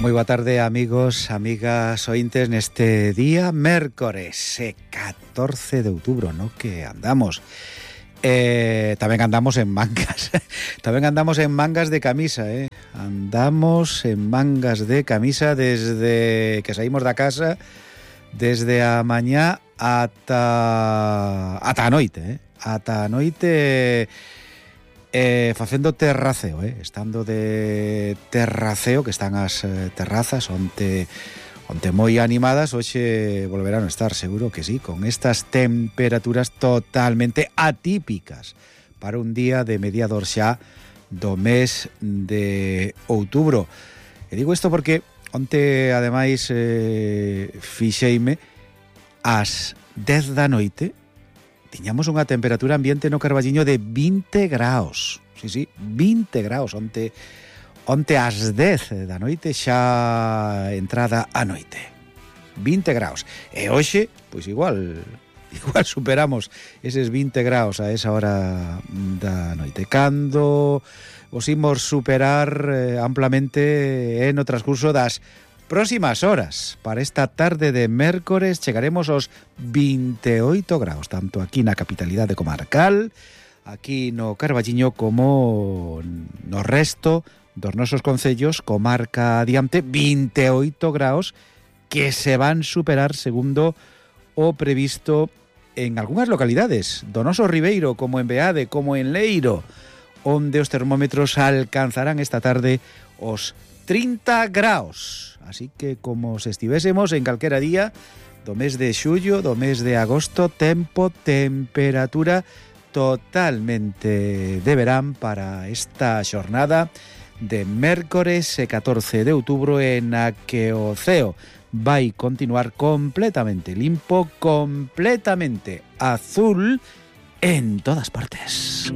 Moi boa tarde, amigos, amigas, ointes, neste día mércores 14 de outubro, no que andamos. Tamén andamos en mangas. Tamén andamos en mangas de camisa, Andamos en mangas de camisa desde que saímos da casa, desde a mañá ata a noite, ata a noite. Facendo terraceo, estando de terraceo, que están as terrazas onte moi animadas. Hoxe volverán a estar, seguro que sí, con estas temperaturas totalmente atípicas para un día de mediador xa do mes de outubro. E digo isto porque onte, ademais, fixeime ás 10 da noite. Tiñamos unha temperatura ambiente no Carballiño de 20 graus. Sí, 20 graus. Onte ás 10 da noite, xa entrada a noite. 20 graus. E hoxe, pois igual superamos eses 20 graus a esa hora da noite. Cando os imos superar amplamente no transcurso das próximas horas. Para esta tarde de mércores chegaremos aos 28 graus, tanto aquí na capitalidade comarcal, aquí no Carballiño, como no resto dos nosos concellos, comarca adiante, 28 graus que se van superar segundo o previsto en algunhas localidades do noso Ribeiro, como en Beade, como en Leiro, onde os termómetros alcanzarán esta tarde os 30 graus. Así que como se estivésemos en calquera día do mes de xullo, do mes de agosto, temperatura totalmente de verán para esta xornada de mércores 14 de outubro, en a que o ceo vai continuar completamente limpo, completamente azul en todas partes.